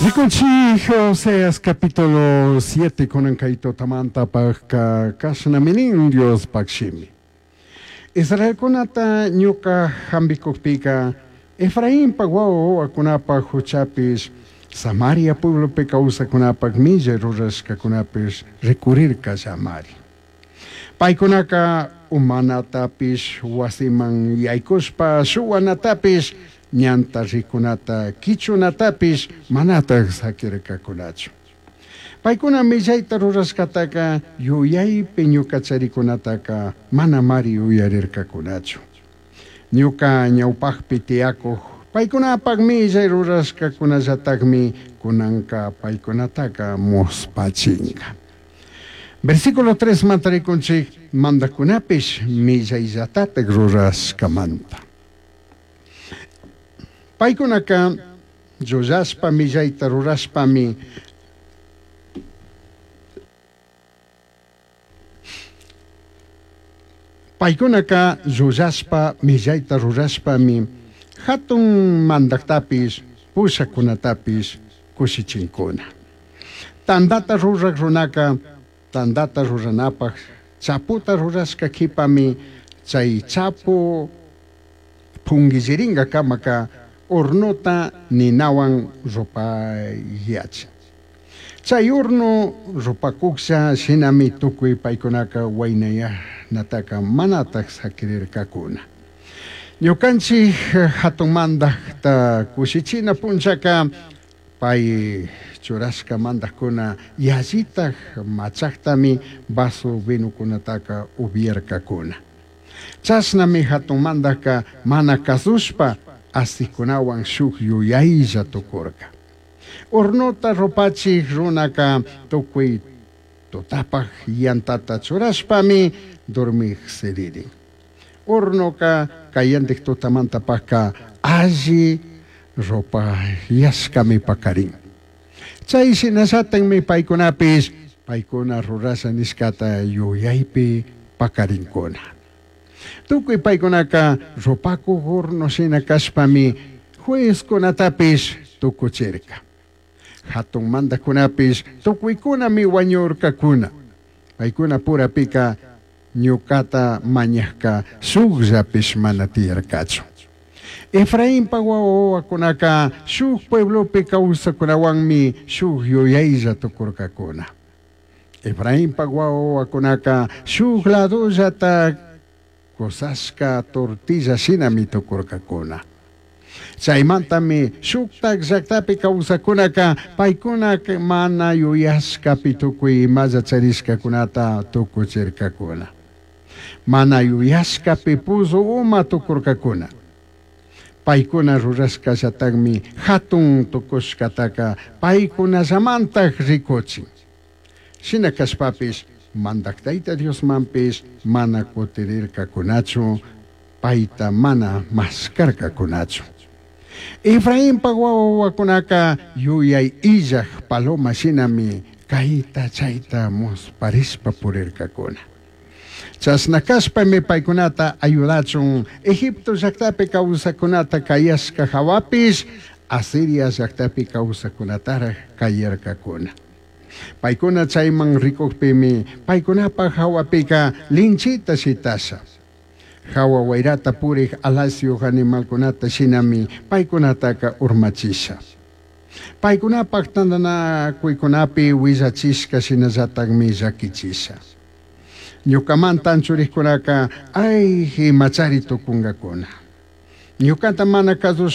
Rikunchik Oseas capítulo 7 kunan kay tutamantapajka kashnami nin Diospaj shimi. Israelkunata ñuka hambikukpika Efrainpak wawa wawakunapaj huchapish Samaria pueblopi kawsakunapak millay rurashkakunapish rikurirkallamari. Paykunaka umanatapish wasiman yaykushpa shuwanatapish ñanta rikunata kichunatapish manataj sakirkakunachu. Paykuna millayta rurashkataka yuyaypi ñuka charikunataka manamari uyarirkakunachu. Ñuka ñawpakpi tiyakuq paykunapak millay rurashkakunallatakmi kunanka paykunataka muspachinka. Versículo 3 manta rikunchik mandakunapish millayllatatak rurashkamanta. Paykunaka llullashpa millayta rurashpami Paykunaka llullashpa millayta rurashpami hatun mandaktapish pushakunatapish kushichinkuna. Tantata rurak runaka tantata ruranapaj chaputa rurashka kipami chay chapu punguillirinkakamaka hornota ninawan rupayachin. Chay horno rupakuklla shinami tukuy paykunaka waynayanataka manataj sakirirkakuna. Ñukanchik hatun mandakta kushichina punchaka pay churashka mandakuna yallitaj machaktami vaso vinokunataka upiarkakuna. Chashnami hatun mandaka mana kasushpa asikunawan shuk yuyaylla tukurka. Hornota rupachik runaka tukuy tutapaj yantata churashpami dormik siririn. Hornoka kayantik tutamantapajka alli rupayashkami pakarin. Chay shinallatakmi paykunapish paykuna rurasha nishkata yuyaypi pakarinkuna. Tukuy paykunaka rupakuk horno shina kashpami juezkunatapish tukuchirka. Hatun mandakunapish tukuykunami wañurkakuna. Paykuna purapika ñukata mañajka shukllapish mana tiyarkachu. Efrainpa wawa wawakunaka shuk pueblopi kawsakunawanmi shuk yuyaylla tukurkakuna. Efrainpa wawa wawakunaka shuk ladollata kusashka tortilla shinami tukurkakuna. Chaymantami shuktak llaktapi kawsakunaka paykuna mana yuyashkapi tukuy imalla charishkakunata tukuchirkakuna. Mana yuyashkapi puzu uma tukurkakuna. Paykuna rurashkallatakmi hatun tukushkataka paykunallamantak rikuchin. Shina kashpapish mandak Tayta Diosmanpish mana kutirirkakunachu payta mana maskarkakunachu. Efrainpa wawa wawakunaka yuyay illaj paloma shinami kayta chayta musparishpa purirkakuna. Chashna kashpami paykunata ayudachun Egipto llaktapi kawsakunata kayashka hawapish Asiria llaktapi kawsakunataraj kayarkakuna. Paykuna chayman rikukpimi paykunapaj hawapika linchita shitasha. Hawa wayrata purik alasyuq animalkunata shinami paykunataka urmachisha. Paykunapaj tantanakuykunapi willachishka shinallatakmi llakichisha. Ñukamanta anchurikkunaka ay imachari tukunkakuna. Ñukata mana kasushpa.